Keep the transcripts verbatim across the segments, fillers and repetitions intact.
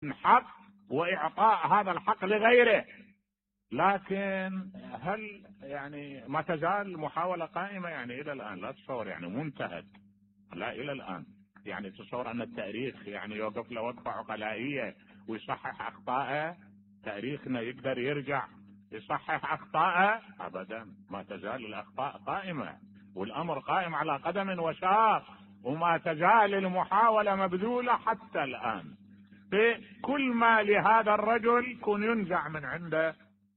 حق وإعطاء هذا الحق لغيره. لكن هل يعني ما تزال محاولة قائمة يعني إلى الآن؟ لا تصور يعني منتهت، لا إلى الآن. يعني تصور أن التاريخ يعني يوقف له وقفة عقلائية ويصحح أخطائه؟ تاريخنا يقدر يرجع يصحح أخطائه؟ أبدا، ما تزال الأخطاء قائمة والأمر قائم على قدم وساق، وما تزال المحاولة مبذولة حتى الآن. كل ما لهذا الرجل كون ينزع من عنده،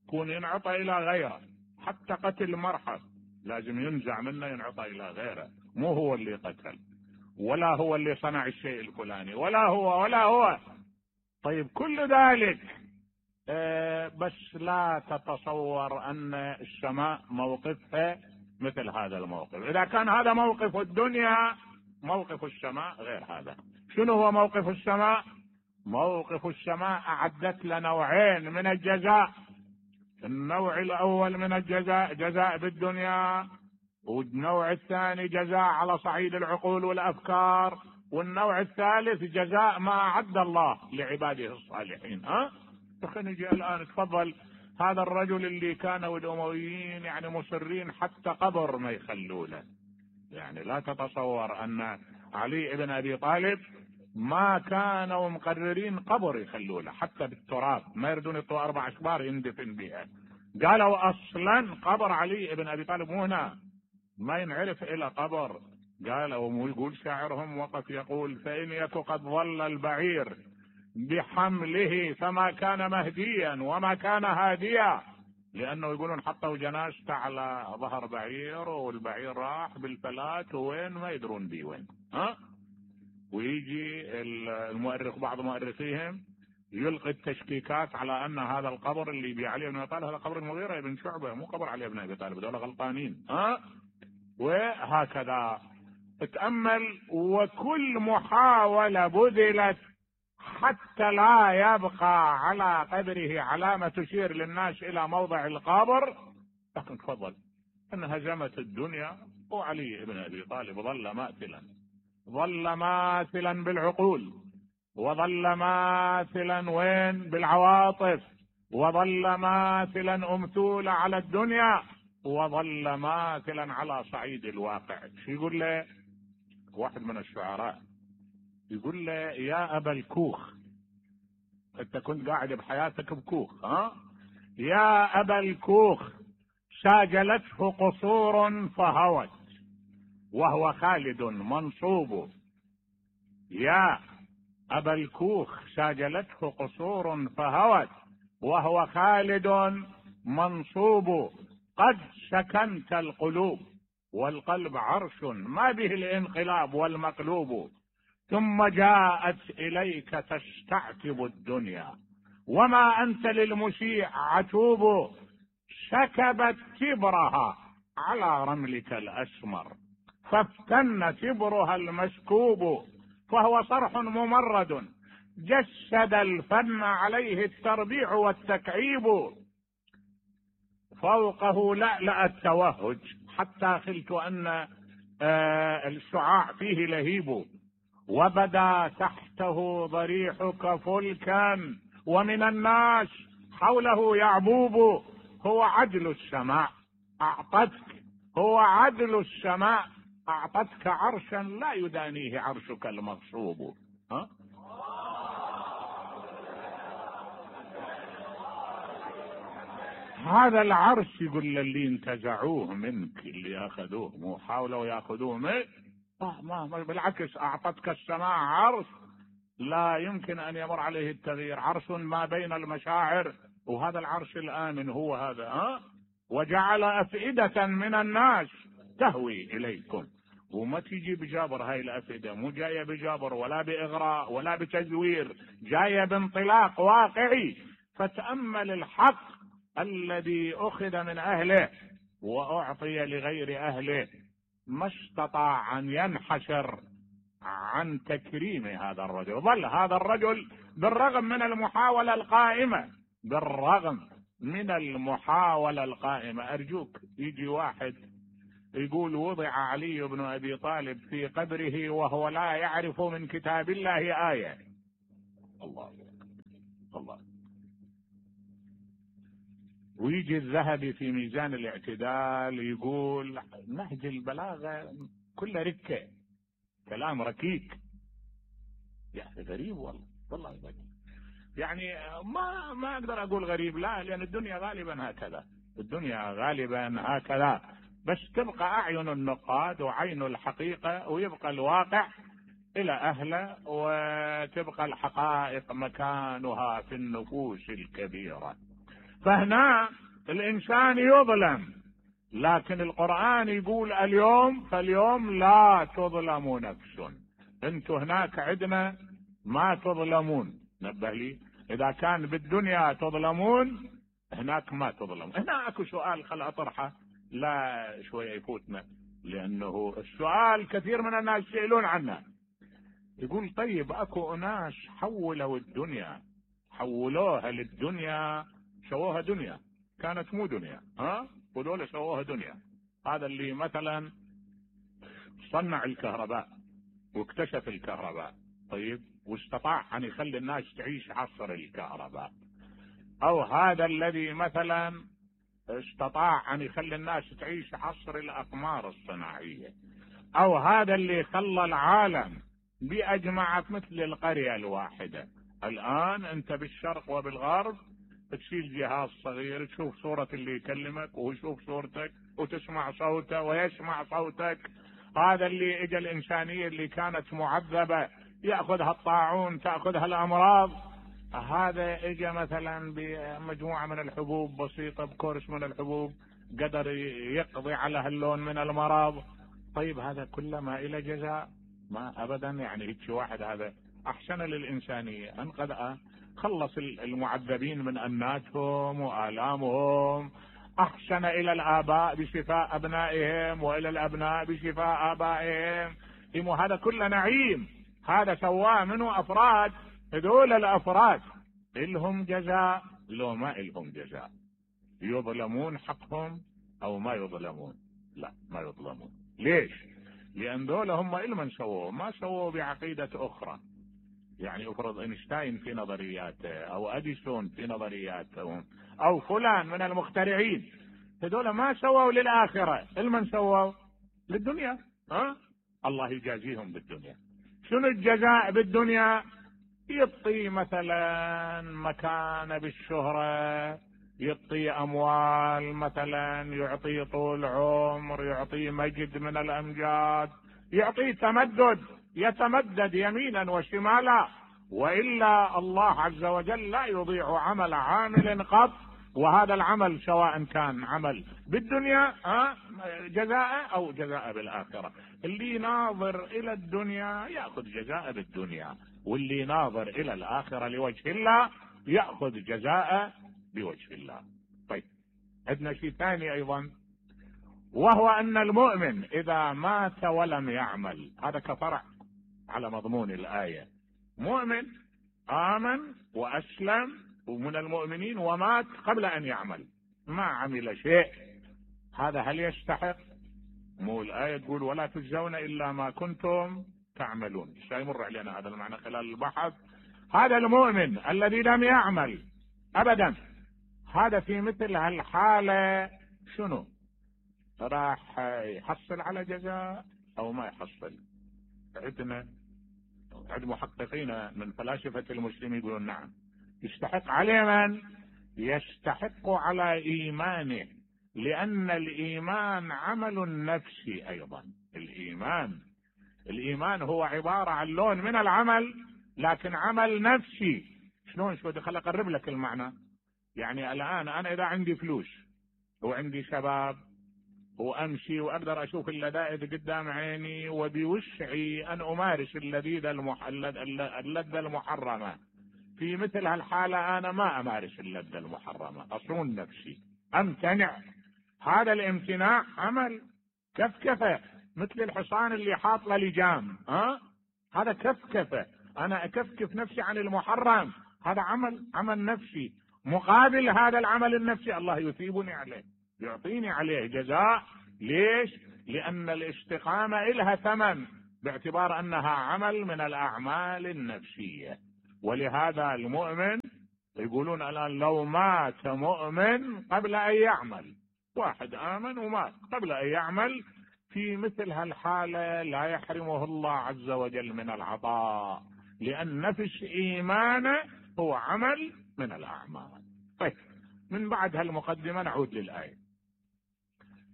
كون ينعطى إلى غيره. حتى قتل مرحب لازم ينزع منه ينعطى إلى غيره، مو هو اللي قتل ولا هو اللي صنع الشيء الفلاني ولا هو ولا هو. طيب كل ذلك آه بس لا تتصور أن السماء موقفها مثل هذا الموقف. إذا كان هذا موقف الدنيا، موقف السماء غير هذا. شنو هو موقف السماء؟ موقف السماء أعدت لنا نوعين من الجزاء. النوع الأول من الجزاء جزاء بالدنيا، والنوع الثاني جزاء على صعيد العقول والأفكار، والنوع الثالث جزاء ما أعد الله لعباده الصالحين. ها خلينا نجي الآن. تفضل، هذا الرجل اللي كانوا الأمويين يعني مصرين حتى قبر ما يخلوا له. يعني لا تتصور أن علي بن أبي طالب ما كانوا مقررين قبر يخلوا له حتى بالتراب، ما يردون يطوا أربع أشبار يندفن بها. قالوا أصلا قبر علي بن أبي طالب مو هنا، ما ينعرف إلى قبر. قالوا، ويقول شاعرهم وقف يقول: فإن يك قد ظل البعير بحمله فما كان مهديا وما كان هاديا. لأنه يقولون حطوا جنازته على ظهر بعير والبعير راح بالفلات وين ما يدرون بيه وين. ها ويجي المؤرخ بعض مؤرخيهم يلقي التشكيكات على أن هذا القبر اللي بي علي بن أبي طالب هذا قبر المغيرة بن شعبة، مو قبر علي بن أبي طالب، دول غلطانين. ها وهكذا اتأمل. وكل محاولة بذلت حتى لا يبقى على قبره علامة تشير للناس إلى موضع القبر، لكن تفضل أن هزمت الدنيا وعلي بن أبي طالب ظل ماثلا، ظل ماثلا بالعقول، وظل ماثلا وين بالعواطف، وظل ماثلا أمثول على الدنيا، وظل ماثلا على صعيد الواقع. شو يقول له واحد من الشعراء؟ يقول له: يا أبا الكوخ، انت كنت قاعد بحياتك بكوخ، ها يا أبا الكوخ شاجلته قصور فهوت وهو خالد منصوب. يا أبا الكوخ شاجلته قصور فهوت وهو خالد منصوب. قد سكنت القلوب والقلب عرش ما به الانقلاب والمقلوب. ثم جاءت إليك تستعتب الدنيا وما أنت للمشيع عتوب. شكبت كبرها على رملك الأسمر فافتن كبرها المشكوب. فهو صرح ممرد جسد الفن عليه التربيع والتكعيب. فوقه لألأ التوهج حتى خلت أن آه الشعاع فيه لهيب. وبدا تحته ضريحك فلكا ومن الناس حوله يعبوب. هو عدل السماء أعطتك، هو عدل السماء أعطتك عرشا لا يدانيه عرشك المغصوب. ها؟ هذا العرش يقول للي انتزعوه منك، اللي أخذوه مو حاولوا يأخذوه منك، ما ما بالعكس أعطتك السماء عرش لا يمكن أن يمر عليه التغيير، عرش ما بين المشاعر. وهذا العرش الآمن هو هذا. ها وجعل أفئدة من الناس تهوي إليكم. وما تيجي بجابر هاي الأفئدة، مو جاية بجابر ولا بإغراء ولا بتزوير، جاية بانطلاق واقعي. فتأمل الحق الذي أخذ من أهله وأعطي لغير أهله، ما استطاع أن ينحشر عن تكريم هذا الرجل. ظل هذا الرجل بالرغم من المحاولة القائمة، بالرغم من المحاولة القائمة. أرجوك يجي واحد يقول وضع علي بن أبي طالب في قبره وهو لا يعرف من كتاب الله آية. الله ويجي الذهبي في ميزان الاعتدال يقول نهج البلاغة كله ركة، كلام ركيك. يعني غريب والله، والله غريب. يعني ما ما اقدر اقول غريب، لا، لان الدنيا غالبا هكذا، الدنيا غالبا هكذا، بس تبقى اعين النقاد وعين الحقيقة، ويبقى الواقع الى اهله، وتبقى الحقائق مكانها في النفوس الكبيرة. فهنا الانسان يظلم، لكن القرآن يقول اليوم فاليوم لا تظلم نفس. انتوا هناك عندنا ما تظلمون، نبه لي، اذا كان بالدنيا تظلمون هناك ما تظلم. هنا اكو سؤال خل اطرحه، لا شوية يفوتنا، لانه السؤال كثير من الناس يسألون عنه. يقول طيب اكو ناس حولوا الدنيا، حولوها للدنيا، سووها دنيا كانت مو دنيا، ها، ودول سووها دنيا. هذا اللي مثلا صنع الكهرباء واكتشف الكهرباء، طيب، واستطاع ان يخلي الناس تعيش عصر الكهرباء، او هذا الذي مثلا استطاع ان يخلي الناس تعيش عصر الاقمار الصناعية، او هذا اللي خلى العالم باجمعه مثل القرية الواحدة. الان انت بالشرق وبالغرب تشيل جهاز صغير، تشوف صورة اللي يكلمك ويشوف صورتك وتسمع صوته ويسمع صوتك. هذا اللي اجى الانسانية اللي كانت معذبة يأخذها الطاعون، تأخذها الامراض، هذا اجى مثلا بمجموعة من الحبوب بسيطة، بكورس من الحبوب قدر يقضي على هاللون من المرض. طيب هذا كله ما الى جزاء؟ ما ابدا. يعني هيك واحد هذا احسن للانسانية، انقذ، خلص المعذبين من اناتهم والامهم، احسن الى الاباء بشفاء ابنائهم والى الابناء بشفاء ابائهم. هذا كله نعيم، هذا سواه منه افراد. هذول الافراد الهم جزاء؟ لو ما الهم جزاء. يظلمون حقهم او ما يظلمون؟ لا، ما يظلمون. ليش؟ لان دول هم المن سووه، ما سووه بعقيدة اخرى. يعني افرض اينشتاين في نظرياته، او اديسون في نظرياتهم، او فلان من المخترعين، هذول ما سووا للاخرة، المن سووا للدنيا. ها، الله يجازيهم بالدنيا. شنو الجزاء بالدنيا؟ يعطي مثلا مكانة بالشهرة، يعطي اموال مثلا، يعطي طول عمر، يعطي مجد من الامجاد، يعطي تمدد، يتمدد يمينا وشمالا. والا الله عز وجل لا يضيع عمل عامل قط، وهذا العمل سواء كان عمل بالدنيا جزاء او جزاء بالاخرة. اللي ناظر الى الدنيا ياخذ جزاء بالدنيا، واللي ناظر الى الاخرة لوجه الله ياخذ جزاء بوجه الله. طيب، عندنا شيء ثاني ايضا، وهو ان المؤمن اذا مات ولم يعمل، هذا كفرع على مضمون الايه. مؤمن امن واسلم ومن المؤمنين ومات قبل ان يعمل، ما عمل شيء، هذا هل يستحق؟ مو الايه تقول ولا تجزون الا ما كنتم تعملون؟ سيمر علينا هذا المعنى خلال البحث. هذا المؤمن الذي لم يعمل ابدا، هذا في مثل هالحالة شنو؟ راح يحصل على جزاء او ما يحصل؟ عندنا عند محققين من فلاسفة المسلمين يقولون نعم، يستحق. عليه من؟ يستحق على ايمانه، لان الايمان عمل نفسي ايضا. الايمان الايمان هو عبارة عن لون من العمل، لكن عمل نفسي. شلون؟ شو خل اقرب لك المعنى. يعني الان انا اذا عندي فلوس وعندي شباب وامشي واقدر اشوف اللذائذ قدام عيني، وبوسعي ان امارس اللذيذة المح... اللذة المحرمة، في مثل هالحالة انا ما امارس اللذة المحرمة، اصون نفسي، امتنع. هذا الامتناع عمل كفكفة، مثل الحصان اللي حاط له لجام، ها، هذا كفكفة، انا اكفكف نفسي عن المحرم، هذا عمل عمل نفسي. مقابل هذا العمل النفسي الله يثيبني عليه، يعطيني عليه جزاء. ليش؟ لان الاستقامة إلها ثمن، باعتبار انها عمل من الاعمال النفسية. ولهذا المؤمن يقولون الآن لو مات مؤمن قبل أن يعمل، واحد آمن ومات قبل أن يعمل، في مثل هالحالة لا يحرمه الله عز وجل من العطاء، لأن نفس إيمانه هو عمل من الأعمال. طيب، من بعد هالمقدمة نعود للآية.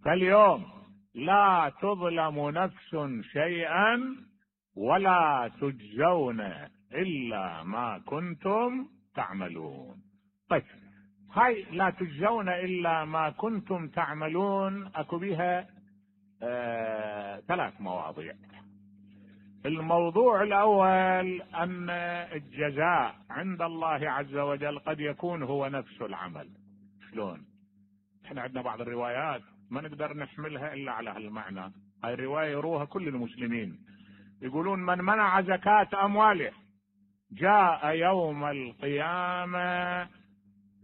فاليوم لا تظلم نفس شيئا ولا تجزون إلا ما كنتم تعملون. طيب، هاي لا تجزون إلا ما كنتم تعملون أكو بها آه ثلاث مواضيع. الموضوع الأول أن الجزاء عند الله عز وجل قد يكون هو نفس العمل. شلون؟ احنا عندنا بعض الروايات ما نقدر نحملها إلا على هالمعنى. هاي الرواية يروها كل المسلمين، يقولون من منع زكاة أمواله جاء يوم القيامة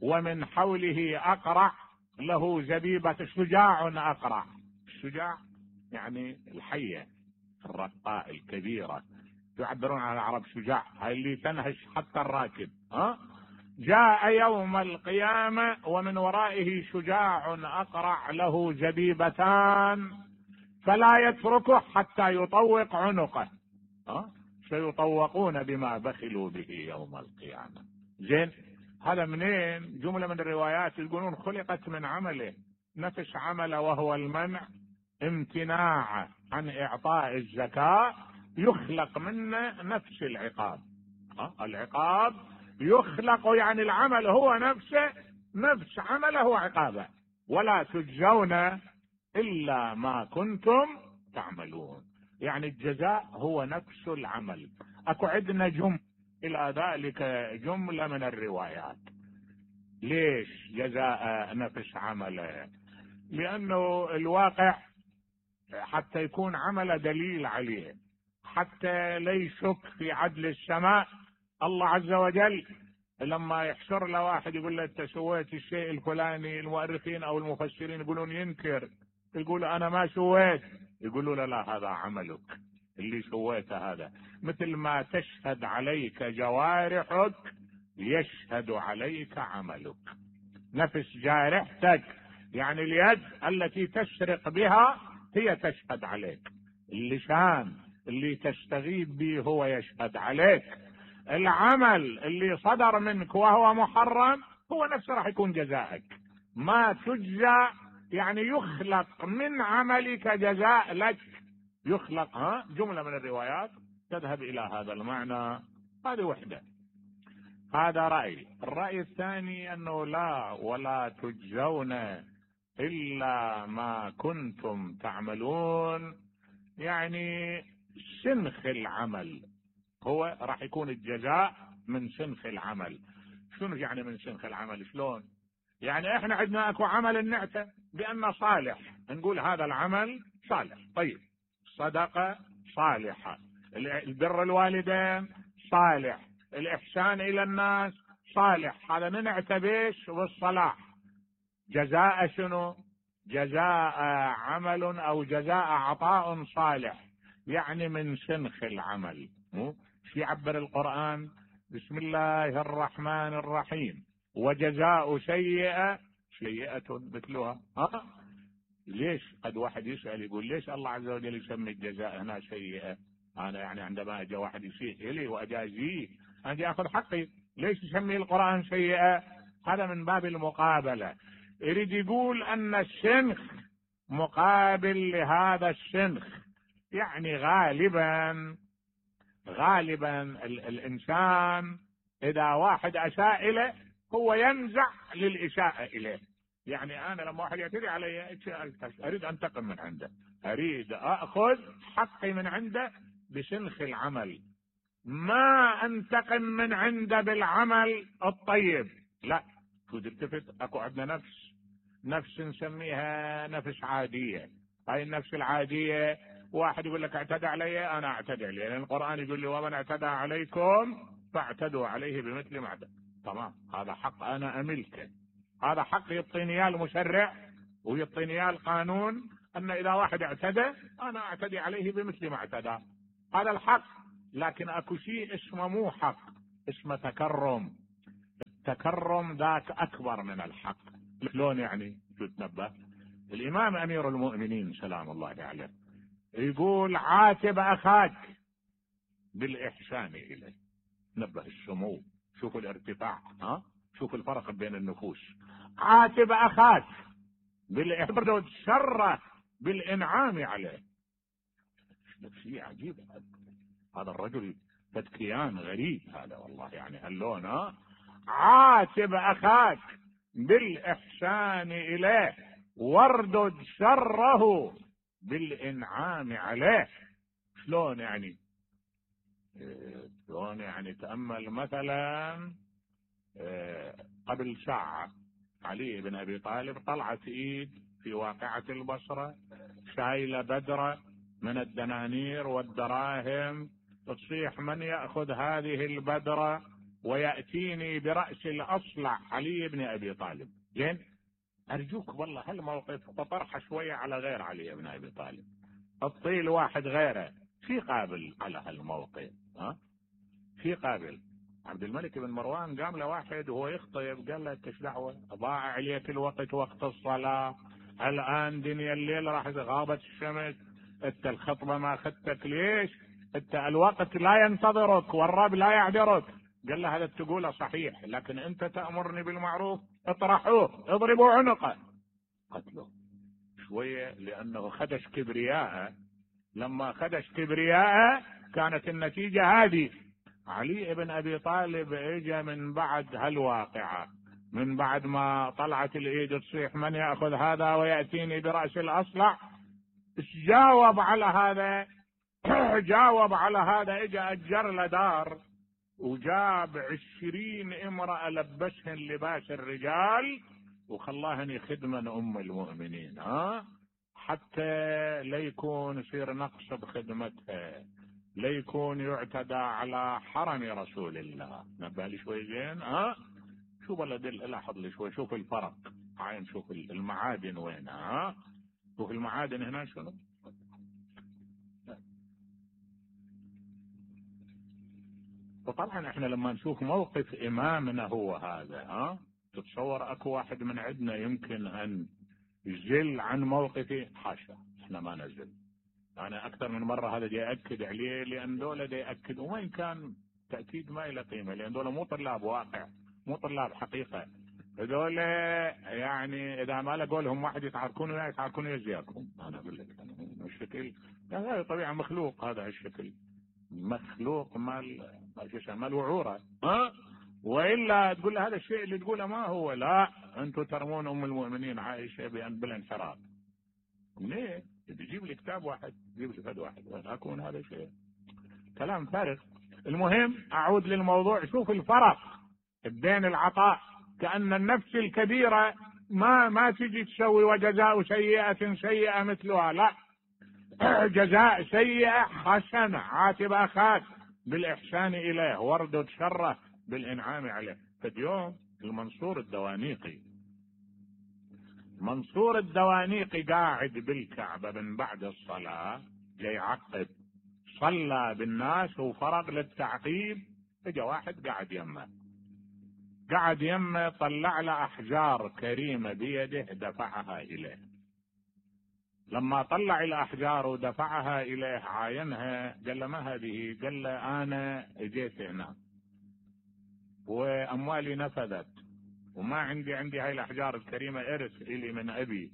ومن حوله أقرع له زبيبة، شجاع أقرع. الشجاع يعني الحية الرقاء الكبيرة، يعبرون عن العرب شجاع، هاي اللي تنهش حتى الراكب. ها؟ جاء يوم القيامة ومن ورائه شجاع أقرع له زبيبتان فلا يتركه حتى يطوق عنقه. ها؟ سيطوقون بما بخلوا به يوم القيامة. زين، هذا منين؟ جملة من الروايات يقولون خلقت من عمله، نفس عمله وهو المنع، امتناع عن إعطاء الزكاة، يخلق منه نفس العقاب. ها؟ العقاب يخلق، يعني العمل هو نفسه، نفس عمله وعقابه. ولا تجزون إلا ما كنتم تعملون، يعني الجزاء هو نفس العمل. اكو عندنا جملة الى ذلك، جملة من الروايات. ليش جزاء نفس عمله؟ لانه الواقع حتى يكون عمل دليل عليه، حتى لا يشك في عدل السماء. الله عز وجل لما يحشر له واحد يقول له انت سويت الشيء الفلاني، المؤرخين او المفسرين يقولون ينكر، يقول انا ما سويت، يقولوا له لا هذا عملك اللي سويته، هذا مثل ما تشهد عليك جوارحك يشهد عليك عملك. نفس جارحتك يعني اليد التي تسرق بها هي تشهد عليك، اللسان اللي تستغيب به هو يشهد عليك، العمل اللي صدر منك وهو محرم هو نفسه راح يكون جزائك. ما تجزى يعني يخلق من عملك جزاء لك، يخلق. ها؟ جملة من الروايات تذهب إلى هذا المعنى. هذه وحدة، هذا رأي. الرأي الثاني أنه لا، ولا تجزون إلا ما كنتم تعملون، يعني سنخ العمل هو راح يكون الجزاء من سنخ العمل. شنو يعني من سنخ العمل؟ شلون؟ يعني احنا عندنا اكو عمل نعته بأنه صالح، نقول هذا العمل صالح. طيب، صدقة صالحة، البر الوالدين صالح، الإحسان إلى الناس صالح، هذا ننعت بيش والصلاح. جزاء شنو؟ جزاء عمل أو جزاء عطاء صالح، يعني من سنخ العمل. شو يعبر القرآن؟ بسم الله الرحمن الرحيم وجزاء سيئة سيئة مثلها. ها؟ ليش؟ قد واحد يسأل يقول ليش الله عز وجل يسمي الجزاء هنا سيئة؟ أنا يعني عندما أجا واحد يسيء إلي وأجازيه أجي أخذ حقي، ليش يسمي القرآن سيئة؟ هذا من باب المقابلة، يريد يقول أن السنخ مقابل لهذا السنخ. يعني غالبا غالبا ال الإنسان إذا واحد أساء إليه هو ينزع للإساءة إليه. يعني أنا لما واحد يعتدي علي أريد أنتقم من عنده، أريد أخذ حقي من عنده بسنخ العمل، ما أنتقم من عنده بالعمل الطيب. لا، تلتفت أكو عندنا نفس نفس نسميها نفس عادية. هاي النفس العادية واحد يقول لك اعتدى علي، أنا اعتدي عليه، لأن القرآن يقول لي ومن اعتدى عليكم فاعتدوا عليه بمثل ما اعتدى. تمام، هذا حق أنا أملكه، هذا حق يعطيني اياه المشرع ويعطيني اياه القانون، أن إذا واحد اعتدى أنا اعتدي عليه بمثل ما اعتدى، هذا الحق. لكن أكو شيء اسمه مو حق، اسمه تكرم. التكرم ذاك اكبر من الحق. شلون يعني؟ شو تنبه؟ الامام امير المؤمنين سلام الله عليه يقول عاتب اخاك بالاحسان اليه. نبه السمو، شوفوا الارتفاع، ها شوفوا الفرق بين النفوس. عاتب اخاك بالاحسان شره بالانعام عليه. شيء عجيب هذا الرجل، تدكيان غريب هذا والله. يعني هاللون، ها عاتب اخاك بالاحسان اليه واردد شره بالانعام عليه. شلون يعني؟ شلون يعني؟ تأمل مثلا قبل ساعة علي بن ابي طالب طلعت ايد في واقعة البصرة شايلة بدرة من الدنانير والدراهم، تصيح من يأخذ هذه البدرة ويأتيني برأس الأصلع علي بن ابي طالب. زين، ارجوك والله هالموقف تطرحه شوية على غير علي بن ابي طالب، الطيل واحد غيره في قابل على هالموقف، ها في قابل. عبد الملك بن مروان قام له واحد وهو يخطب قال له ايش دعوه؟ ضاع عليك الوقت وقت الصلاه، الان دنيا الليل راح غابت الشمس، انت الخطبه ما اخذتك ليش؟ انت الوقت لا ينتظرك والرب لا يعذرك. قال له هذا تقوله صحيح، لكن انت تأمرني بالمعروف، اطرحوه اضربوا عنقه. قتلوه شويه لانه خدش كبرياءه. لما خدش كبرياءه كانت النتيجه هذه. علي بن ابي طالب اجى من بعد هالواقعه، من بعد ما طلعت الايد تصيح من ياخذ هذا وياتيني براس الاصلع، جاوب على هذا جاوب على هذا اجى اجر له دار وجاب عشرين امرأة لبسهن لباس الرجال وخلاهن خدمة ام المؤمنين، ها حتى ليكون يصير نقص بخدمتها، ليكون يعتدى على حرم رسول الله. نبه لي شوي زين، ها شوف الذي لاحظ لي شوي، شوف الفرق عين، شوف المعادن وين، ها شوف المعادن هنا شنو. وطبعا احنا لما نشوف موقف امامنا هو هذا، ها تتصور اكو واحد من عندنا يمكن ان يزل عن موقفه؟ حاشا، احنا ما نزل. انا اكثر من مره هذا جاي اكد عليه، لان دول جاي ياكد، وين كان تاكيد ما له قيمه، لان دول مو طلاب واقع، مو طلاب حقيقه. هذول يعني اذا ما لقوا لهم واحد يتعاركون وياه يتعاركون وياكم. انا اقول لك الشكل هذا طبيعه مخلوق، هذا الشكل مخلوق مال مال وعوره، ها والا تقول له هذا الشيء اللي تقوله ما هو. لا، انتم ترمون ام المؤمنين عائشه بان بالانحراف. ليه؟ تجيب لي كتاب واحد، تجيب لي فد واحد، وين اكون هذا الشيء؟ كلام فارغ. المهم اعود للموضوع. شوف الفرق بين العطاء، كأن النفس الكبيرة ما ما تجي تسوي وجزاء سيئة سيئة مثلها، لا، جزاء سيئة حسنة. عاتب اخاك بالاحسان اليه واردد شره بالانعام عليه. فاليوم المنصور الدوانيقي منصور الدوانيقي قاعد بالكعبة من بعد الصلاة جاي يعقب، صلى بالناس وفرغ للتعقيب، اجا واحد قاعد يمه قاعد يمه طلع له احجار كريمة بيده دفعها اليه. لما طلع الاحجار ودفعها اليه عاينها، قال له ما هذه؟ قال له انا اجيت هنا واموالي نفذت وما عندي عندي هاي الاحجار الكريمة ارث الي من ابي،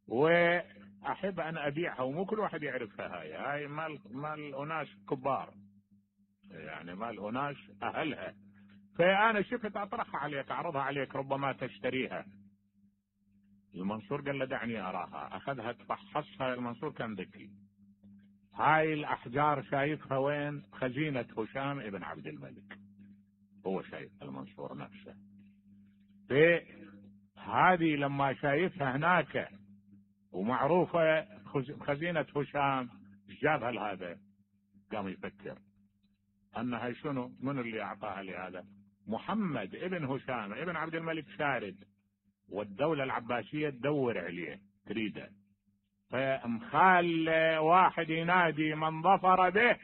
واحب ان ابيعها، ومو كل واحد يعرفها. هاي هاي مال مال اناس كبار، يعني مال اناس اهلها، فانا شفت اطرحها عليك اعرضها عليك ربما تشتريها. المنصور قال له دعني اراها. اخذها تفحصها. المنصور كان ذكي. هاي الاحجار شايفها وين؟ خزينة هشام ابن عبد الملك، هو شايف المنصور نفسه. هذه لما شايفها هناك ومعروفة خزينة هشام، جابها لهذا. قام يفكر انها شنو؟ من اللي اعطاها لهذا؟ محمد ابن هشام ابن عبد الملك شارد، والدولة العباسية تدور عليه تريده، فمخال واحد ينادي من ظفر به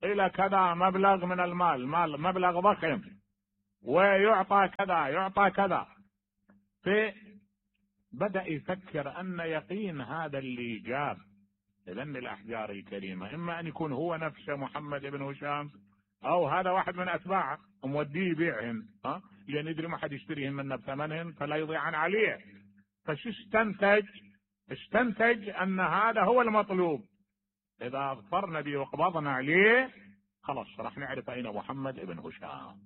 الى كذا مبلغ من المال، مال مبلغ ضخم، ويعطى كذا يعطى كذا. فبدأ يفكر أن يقين هذا اللي جاب إذن الأحجار الكريمة إما أن يكون هو نفسه محمد بن هشام، أو هذا واحد من أتباعه وموديه يبيعهن، ها لأن يدري ما حد يشتريهن منه بثمنهن فلا يضيعن عليه. فش استنتج؟ استنتج أن هذا هو المطلوب. إذا اظفرنا به وقبضنا عليه خلاص راح نعرف أين محمد بن هشام.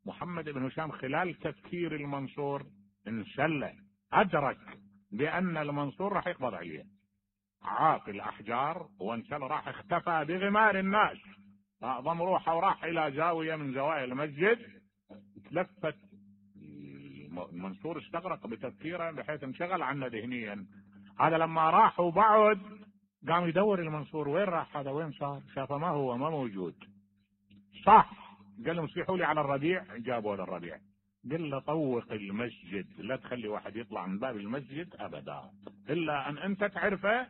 محمد بن هشام خلال تفكير المنصور انشل، أدرك بأن المنصور راح يقبض عليه، عاق الأحجار وانشل، راح اختفى بغمار الناس، أعظم روحه وراح إلى زاوية من زوايا المسجد. تلفت المنصور استغرق بتفكيره بحيث انشغل عنه ذهنيا. هذا لما راح وبعد قام يدور المنصور وين راح هذا، وين صار، شافه ما هو ما موجود. صح، قال لهم صيحوا لي على الربيع، جابوا للربيع. قال له طوق المسجد، لا تخلي واحد يطلع من باب المسجد أبدا إلا أن أنت تعرفه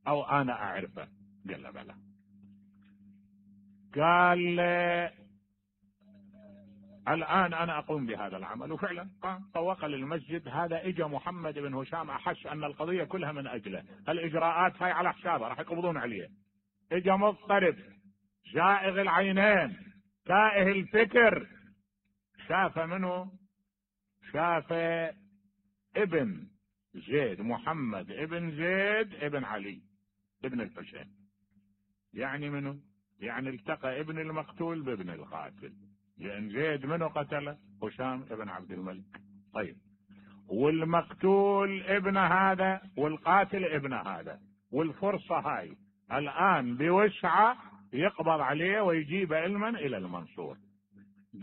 أو أنا أعرفه. قال له بلى. قال الآن أنا أقوم بهذا العمل، وفعلا طوق للمسجد. هذا إجا محمد بن هشام أحس أن القضية كلها من أجله، الإجراءات هاي على حسابه راح يقبضون عليه. إجا مضطرب جائغ العينين تائه الفكر. شاف منه؟ شاف ابن زيد، محمد ابن زيد ابن علي ابن الحسين. يعني منه؟ يعني التقى ابن المقتول بابن القاتل، لأن زيد منه قتله؟ هشام ابن عبد الملك. طيب، والمقتول ابن هذا والقاتل ابن هذا، والفرصة هاي الآن بوسعة يقبض عليه ويجيب علما إلى المنصور.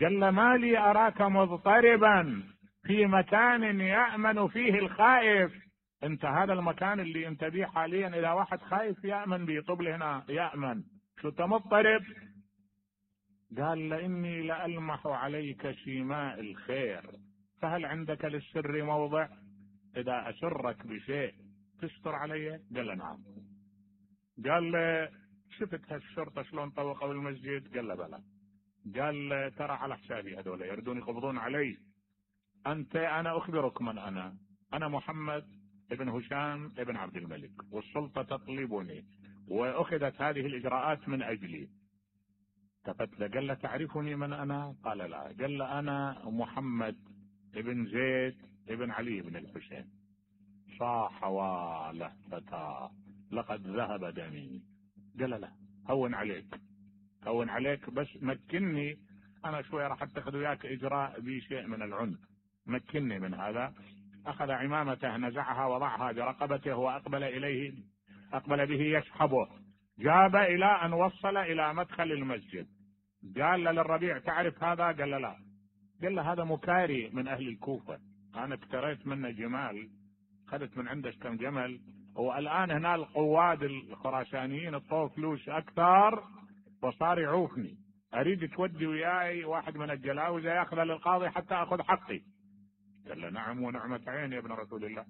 قال له ما لي أراك مضطربا في مكان يأمن فيه الخائف. انت هذا المكان اللي انت بيه حاليا إذا واحد خايف يأمن بيه، طب لي هنا يأمن، شو انت مضطرب؟ قال لإني لألمح عليك شيماء الخير، فهل عندك للسر موضع؟ إذا أسرك بشيء تستر علي؟ قال له نعم. قال له شفت هالشرطة شلون طوقوا المسجد؟ قال له بلى. قال ترى على حسابي هذول يردون يقبضون علي. أنت أنا أخبرك من أنا أنا محمد ابن هشام ابن عبد الملك، والسلطة تطلبني وأخذت هذه الإجراءات من أجلي. التفت له قال له تعرفني من أنا؟ قال لا. قال له أنا محمد ابن زيد ابن علي بن الحسين. صاح واله فتى لقد ذهب دمي. قال لا هون عليك هون عليك، بس مكني أنا شوي راح أتخذ وياك إجراء بشيء من العنف، مكني من هذا. أخذ عمامته نزعها وضعها برقبته وأقبل إليه، أقبل به يسحبه، جاب إلى أن وصل إلى مدخل المسجد. قال للربيع تعرف هذا؟ قال له لا. قال له هذا مكاري من أهل الكوفة، أنا اشتريت منه جمال، أخذت من عنده كم جمل، والآن هنا القواد الخراسانيين الطوف فلوس أكثر وصار يعوفني، أريد تودي وياي واحد من الجلاوزة يأخذ للقاضي حتى أخذ حقي. قال له نعم ونعمة عين يا ابن رسول الله،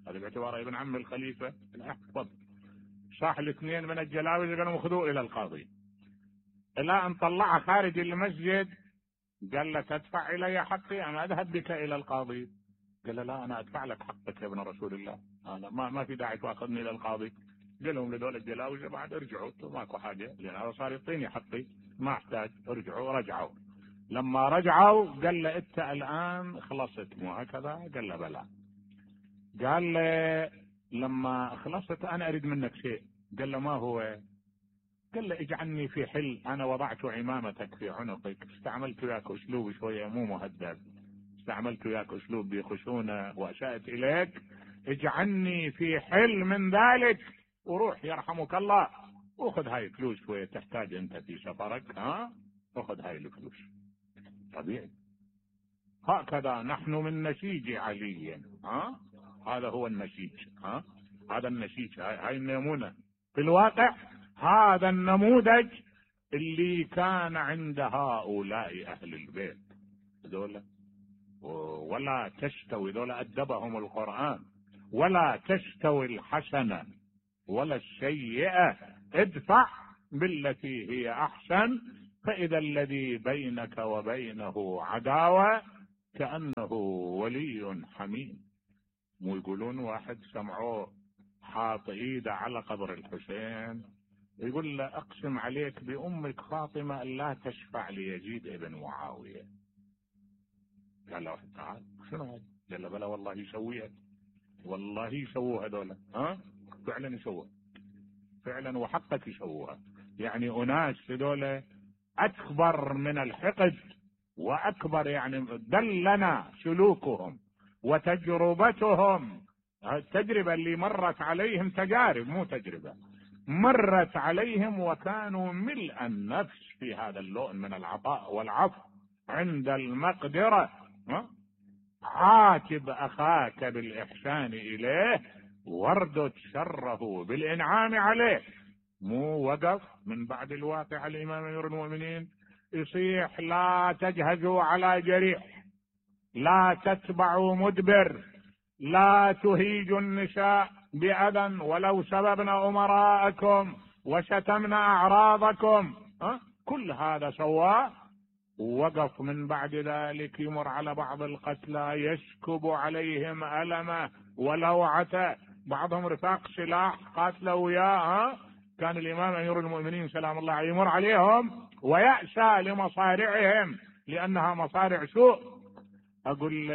هذا باعتباره ابن عم الخليفة. تفضل. صاح الاثنين من الجلاوزة قالوا اخذوه إلى القاضي، إلى أن طلعه خارج المسجد. قال له تدفع إلي حقي أم أذهب بك إلى القاضي؟ قال له لا أنا أدفع لك حقك يا ابن رسول الله، أنا ما, ما في داعي تأخذني إلى القاضي. قال لهم لدول الجلاوزة بعد ارجعوا ماكو حاجة، لأن هذا صار يعطيني حقي ما احتاج، ارجعوا. رجعوا. لما رجعوا قال له أنت الآن خلصت مو هكذا؟ قال له بلى. قال له لما خلصت أنا أريد منك شيء. قال له ما هو؟ قال له اجعلني في حل، أنا وضعت عمامتك في عنقك، استعملت وياك أسلوب شوية مو مهذب، استعملت وياك أسلوب بخشونة وأسأت إليك، اجعلني في حل من ذلك وروح يرحمك الله، وخذ هاي الفلوس شوية تحتاج أنت في سفرك، ها وخذ هاي الفلوس. طبيعي. هكذا نحن من نسيج علي، ها هذا هو النسيج، ها هذا النسيج، هاي النمونة في الواقع، هذا النموذج اللي كان عند هؤلاء أهل البيت. ذولا ولا تستوي، ذولا أدبهم القرآن، ولا تستوي الحسنة ولا السيئة، ادفع بالتي هي أحسن، فإذا الذي بينك وبينه عداوة كأنه ولي حميم. مو يقولون واحد سمعوه حاط ايده على قبر الحسين يقول له اقسم عليك بأمك فاطمة أن لا تشفع ليزيد ابن معاوية. قال له تعال شنو هذا؟ قال له بلا والله يسويها، والله يسووها هذولا. ها فعلا يسووها فعلا، وحقك يسووها. يعني اناس هذولا اكبر من الحقد واكبر، يعني دلنا سلوكهم وتجربتهم. التجربة اللي مرت عليهم، تجارب مو تجربة، مرت عليهم وكانوا ملء النفس في هذا اللون من العطاء والعفو عند المقدرة. عاتب أخاك بالإحسان إليه واردد شره بالإنعام عليه. مو وقف من بعد الواقع الإمام أمير المؤمنين يصيح لا تجهزوا على جريح، لا تتبعوا مدبر، لا تهيجوا النساء بأذى ولو سببنا أمراءكم وشتمنا أعراضكم. أه؟ كل هذا سواه. وقف من بعد ذلك يمر على بعض القتلى يسكب عليهم ألمه ولوعته، بعضهم رفاق سلاح قاتلوا وياه. كان الإمام أمير المؤمنين سلام الله عليه يمر عليهم ويأسى لمصارعهم لأنها مصارع سوء. أقول له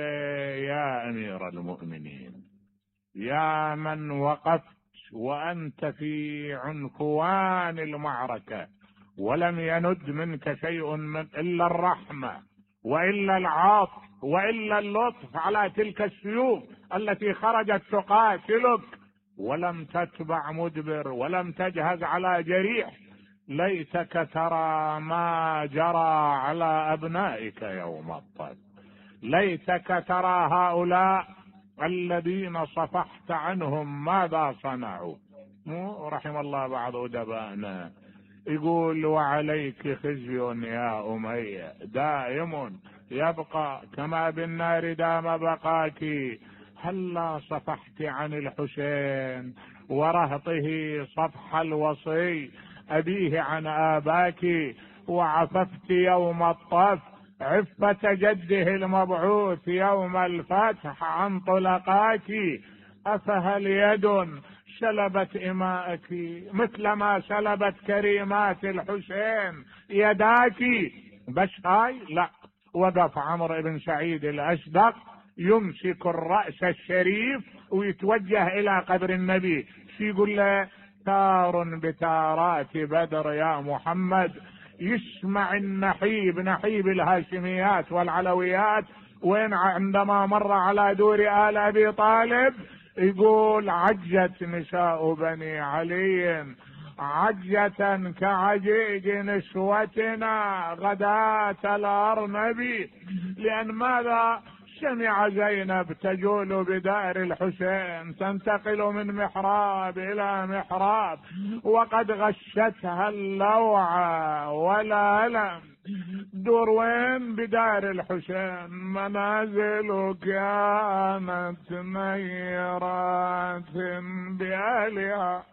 يا أمير المؤمنين، يا من وقفت وأنت في عنفوان المعركة ولم يند منك شيء من إلا الرحمة وإلا العطف وإلا اللطف على تلك السيوف التي خرجت تقاتلك، ولم تتبع مدبر ولم تجهز على جريح، ليتك ترى ما جرى على أبنائك يوم الطب، ليتك ترى هؤلاء الذين صفحت عنهم ماذا صنعوا. مو رحم الله بعض أدبائنا يقول وعليك خزي يا أمية دائم يبقى كما بالنار دام بقاك، هلا صفحت عن الحسين ورهطه صفح الوصي أبيه عن آباك، وعففت يوم الطف عفة جده المبعوث يوم الفتح عن طلقاك، أفهل يد سلبت إماءك مثل ما سلبت كريمات الحسين يداك؟ بس هاي لا. وقف عمرو بن سعيد الأشدق يمسك الرأس الشريف ويتوجه إلى قبر النبي، يقول له تار بتارات بدر يا محمد. يسمع النحيب نحيب الهاشميات والعلويات وين عندما مر على دور آل أبي طالب يقول عجت نساء بني علي عجة كعجيج نسوتنا غداة الأرنب. لأن ماذا؟ سمع زينب تجول بدار الحسين تنتقل من محراب إلى محراب وقد غشتها اللوعة والألم. دور وين؟ بدار الحسين. منازل كانت نيرات بأهلها